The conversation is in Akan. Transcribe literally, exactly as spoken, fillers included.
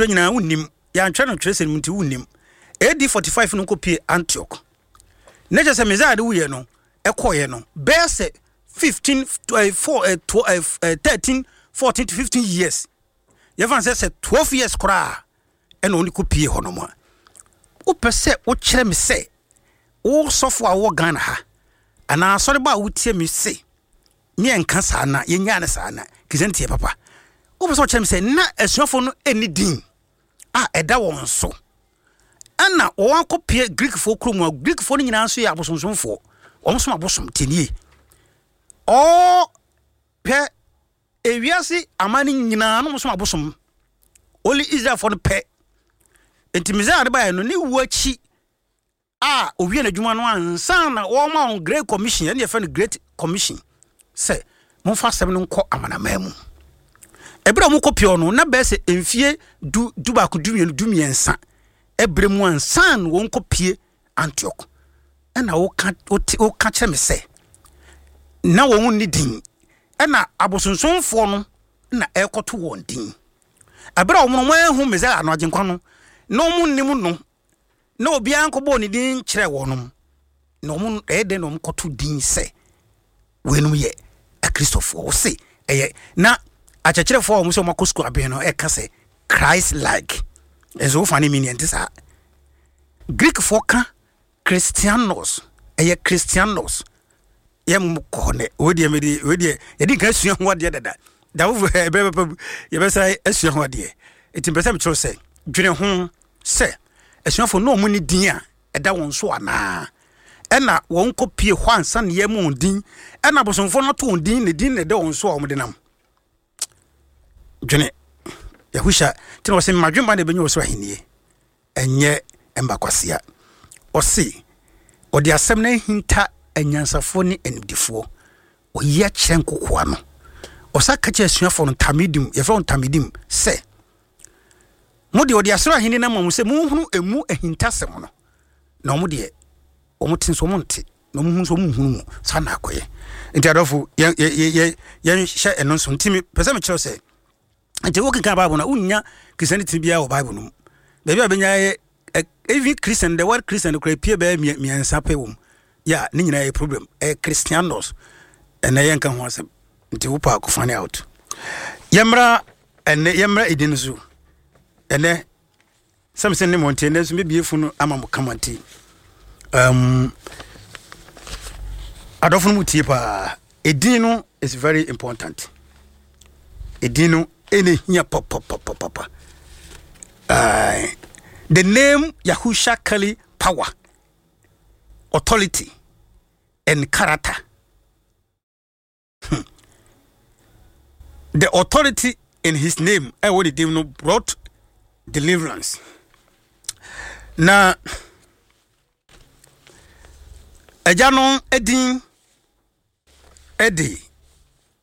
date nyinaa wonnim, yɛantwerɛ no twerɛsɛm mu nti wonnim. A D forty-five no nkɔpie Antioch na kyerɛ sɛ Messiah de wuyɛ no ɛkɔɔyɛ no bɛyɛ sɛ fifteen, four, thirteen, fourteen to fifteen years, yɛfa sɛ sɛ twelve years koraa ɛna ɔne kɔpie hɔ nom a, wopɛ sɛ wokyerɛ me sɛ wo sɔfo a wowɔ Ghana ha anaa asɔreba a wotie me se ne yɛnka saa na yɛnyaa ne saa na Christianity yɛ papa, wopɛ sɛ wokyerɛ me sɛ na asuafoɔ no ɛnni din a ɛda wɔn so, ɛna wɔn akɔpie Greekfoɔ kurom a Greekfoɔ no nyinaa nso yɛ abosonsomfoɔ, wɔn som abosom tinie ɔɔ pɛ ewiase aman no nyinaa no som abosom, only Israelfoɔ no pɛ. Nti Messiah de baeɛ no ne wu akyi a owie n'adwuma no ansa na wɔma wɔn Great Commission, ɛne yɛfrɛ no Great Commission, sɛ momfa asɛm no nkɔ amanaman mu. Ɛberɛ a mokɔ pie no na bɛyɛ sɛ mfie du, du baako, du mmienu, du mmiɛnsa ɛberɛ mu ansa na wɔn kɔ pie Antioch, ɛna woka wote woka kyerɛ me sɛ na wɔn nni din, ɛna abosonsomfoɔ no na ɛrekɔto wɔn din. Ɛberɛ a wɔn no wɔn ahu Messiah no, Agyenkwa no, na wɔn nnim no na obiara nkɔbɔɔ ne din kyerɛ wɔn na wɔn ɛyɛ dɛn na wɔn kɔto din sɛ weinom yɛ Akristofoɔ? Wɔse ɛyɛ na akyerɛkyerɛfoɔ a wɔn sɛ wɔn akɔ sukuu abɛn no ɛka sɛ Christ like ɛnso wofa ne mi nea nte saa. Greekfoɔ ka Christianos, ɛyɛ Christianos. Yɛ mo kɔ hɔ nɛ, wei deɛ mede wei deɛ yɛde nka asua ho adeɛ dada da foforɔ ɛbɛrɛ bɛpɛ yɛbɛsa asua ho adeɛ. Nti mpɛ sɛ mekyerɛw sɛ dwene ho sɛ asuafoɔ na ɔmo ne din a ɛda wɔn so anaa ɛna wɔn kɔ pie hɔ ansa ne yɛ mu wɔn din, ɛna abosomfoɔ no ato wɔn din ne din na ɛda wɔn so a wɔn de nam. Dwene Yahusha nti na wɔsɛ mmadwemba na ɛbɛnya wɔ so ahennie ɛnyɛ mbakwasea. Ɔse ɔde asɛm no ahinta anyansafoɔ ne animdifoɔ, ɔyi akyerɛ nkokoa no. Ɔsa ka kyerɛ asuafoɔ no, tamidim, yɛfrɛ wɔn tamidim, sɛ mo deɛ ɔde asoro ahenni no ama mo sɛ monhunu emu ahintasɛm no, na ɔmo deɛ ɔmo te nso ɔmo nte na ɔmo hu nso ɔmo nhunu mu. Saa na akɔyɛ. Nti adɔfo, yɛn yɛn yɛnhyɛ ɛno nso. Nti pɛ sɛ mekyerɛw sɛ nti wokenkan Bible no a, wonnya Christianity biara wɔ Bible no mu. Baabi a bɛnya yɛ even Christian, the word Christian kora pie bɛyɛ mmiɛnsa pɛ wɔ mu yɛ ne nyinaa yɛ problem, ɛyɛ Christianos. Ɛnɛ yɛnka ho asɛm nti wopɛ akɔ find out. Yɛmmra ɛnɛ, yɛmmra ɛdi no so ɛnɛ sɛm sɛ ne mɔ nti ɛnɛ nso mɛbie fo no ama mo kama. Nti um, adɔfo no mu tie paa, ɛdin no is very important. Ɛdin no ɛne hia papapapapa. uh, the name Yahusha carry power, authority and character. hmm. the authority in his name, ɛwɔ ne din no, brought deliverance. Na agya no din ɛde